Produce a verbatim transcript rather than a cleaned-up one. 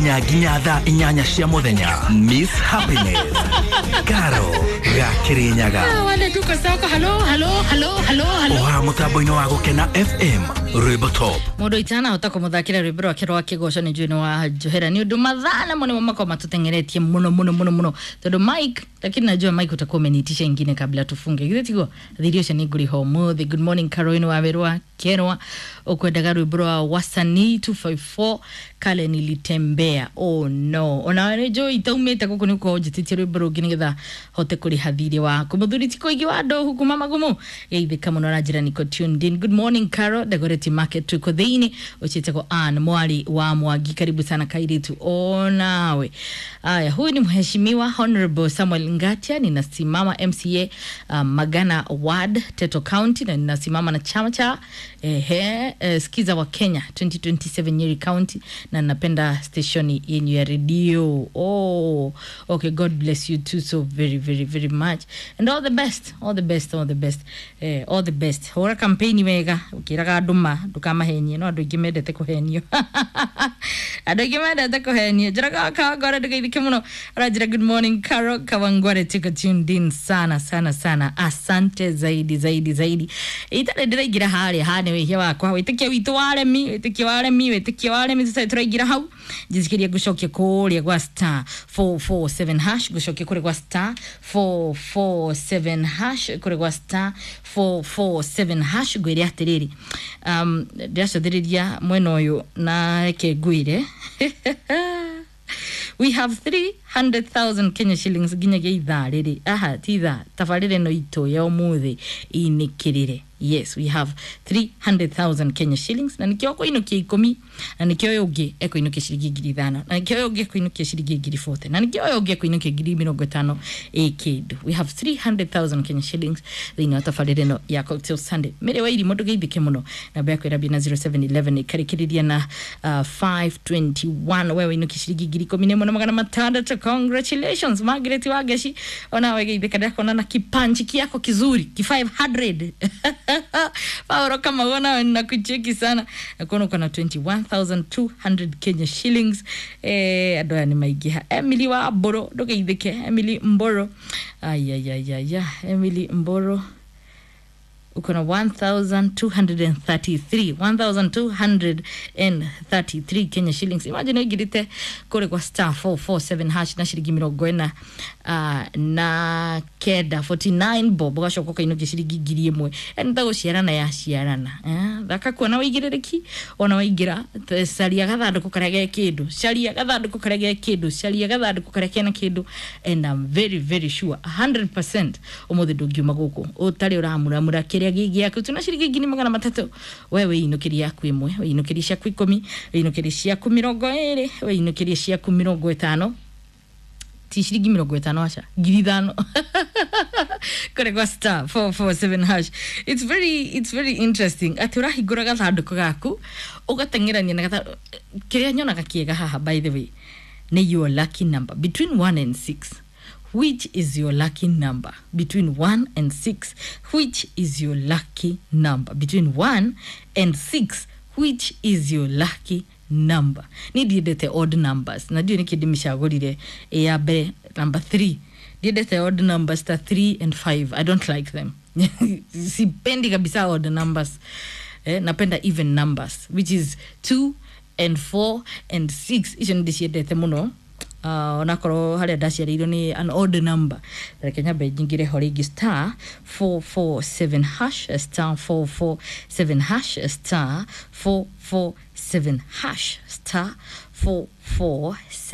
Nginya thaa inyanya cia muthenya. Miss Happiness Karo ga Kirinyaga. Wale tuko soko. Halo, halo, halo, halo, halo. Oha mutambo-inĩ wa Gũkena F M, rwĩmbo top. Mundu itanahota kumuthakira rwimbo rwake rwa kigoco ni njui wa njohera ni undu mathaa namo nimo makorwo matutengeretie muno muno muno muno, tondu Mike, lakini najua Mike utakuwa umeniitisha ingine kabla tufunge. Githĩ tiguo? Thirio ũcio nĩ ngũrĩha ũmũthĩ. Good morning, Caroline wa werwa kerwa ukwendaga rwimbo rwa Wasanii two five four, "Kale Nilitembea". Oh no, ona nĩ njũĩ itaumĩte gũkũ nĩ ũkorwo njĩtĩtie rwimbo rũngĩ nĩgetha hote kũrĩha thirĩ waku. Mũthuri ti kũingĩ wa ndohu kuma magumu geithĩka mũno na njĩra niko tuned in. Good morning, Caro Dagoretti Market, tuko thĩinĩ. Ũchĩtagwo Ann Mwari wa Mwangi, karibu sana kairitu onawe. Aya, huyu ni Mheshimiwa Honorable Samuel Ngatia, ninasimama M C A uh, Magana Ward, Teto County, na ninasimama na chama cha ehe, eh, Skiza wa Kenya twenty twenty-seven Nyeri County, na napenda steshoni yenyu ya redio. Oh, okay, God bless you too so very very very much and all the best, all the best, all the best, eh, all the best. Hũra campaign wega ũkĩraga andũ ma ndũkamahenie, no andũ aingĩ mendete kũhenio, andũ aingĩ mendete kũhenio. Njĩraga Kawangware ndũgeithĩke mũno, aranjĩra good morning Caro, Kawangware tuko tuned in sana sana sana, asante zaidi zaidi zaidi. Itarĩ ndĩraingĩra harĩa ha nĩ wĩhia wakwa, wĩtĩkio witũ waremi, wĩtĩkio waremi, wĩtĩkio waremi, tũtarĩ tũraingĩra hau. Njĩtĩkĩria ngũcokia kũrĩa gwa star four four seven hash, ngũcokia kũrĩa gwa star four four seven hash, kũrĩa gwa star four four seven hash. Ngwĩre atĩrĩrĩ, um, ndĩracũthĩrĩria mwena ũyũ na reke ngwĩre we have three hundred thousand Kenya shillings nginyagia ithaa rĩrĩ. Aha, ti ithaa, tabarĩra ĩno itũ ya ũmũthĩ inĩkĩrĩre. Yes, we have three hundred thousand Kenya shillings, na nikĩo kũinũkia ikũmi, na nikĩo ũyũ ũngĩ ekũinũkia ciringi ngiri ithano, na nikĩo ũyũ ũngĩ ekũinũkia ciringi ngiri forty, na nikĩo ũyũ ũngĩ ekũinũkia ngiri mĩrongo ĩtano ĩ kĩndũ. We have three hundred thousand Kenya shillings thĩinĩ wa tabarĩra ĩno ya Cocktail Sunday. Mĩrĩ wa irimũ, ndũgeithĩke mũno. Namba yaku ĩrambia na zero seven one one, ĩkarĩkĩrĩria na uh, five twenty-one. We wĩinũkia ciringi ngiri ikũmi na ĩmwe na magana matandatũ. Congratulations, Margaret Wangeci, onawe geithĩka, ndĩrakona na kipanchi kiako kizuri ki five hundred. Pauro Kamau, nawe ninakucheki sana, nakuona uko na twenty-one thousand two hundred Kenya shillings. Eh, andũ aya nĩ maingĩha. Emily wa Mboro, ndũgeithĩke Emily Mboro. Ayayayaya, Emily Mboro uko na one thousand two hundred thirty-three, one thousand two hundred thirty-three Kenya shillings. Imagine ũingĩrĩte kũrĩ kwa star four four seven hash na ciringi mĩrongo ĩna uh, na kenda, forty-nine bob, ũgacoka ũkainũkia ciringi ngiri ĩmwe. Yani ta gũciarana ya ciarana, eh? Thaka kuona wĩigĩrĩrĩki ona waingĩra. te- caria gathandũkũ karĩa ge kĩndũ, caria gathandũkũ karĩa ge kĩndũ, caria gathandũkũ karĩa kena kĩndũ, and I'm very very sure one hundred percent ũmũthĩ ndũngiuma gũkũ ũtarĩ ũramuramura kĩrĩa gĩ gĩaku. Tuna ciringi ngiri magana matatũ. We wĩinũkĩrie yaku ĩmwe, wĩinũkĩrie ciaku ikũmi, wĩinũkĩrie ciaku mĩrongo ĩrĩ, wĩinũkĩrie ciaku mĩrongo ĩtano, ti ciringi mĩrongo ĩtano, aca, ngiri ithano kũrĩ gwa star four four seven hash. it's very it's very interesting atĩ ũrahingũra gathandũkũ gaku ũgateng'erania na gathandũkũ. Kĩrĩa nyonaga kĩega haha, by the way, nĩ your lucky number between one and six. Which is your lucky number between one and six? Which is your lucky number between one and six? Which is your lucky number? Ni ndiendete odd numbers, na ndiũĩ nĩkĩ ndĩmĩcagũrire ĩ ya mbere, number three. Ndiendete odd numbers ta three and five. I don't like them. Sipendi kabisa odd numbers. Eh, napenda even numbers, which is two and four and six. Icio nĩ ndĩciendete mũno, uh, onakorwo harĩa ndaciarĩirwo nĩ an odd number. Reke nyambe nyingĩre ho rĩngĩ, star four four seven hash, star four four seven hash, star four four seven hash, star four four seven.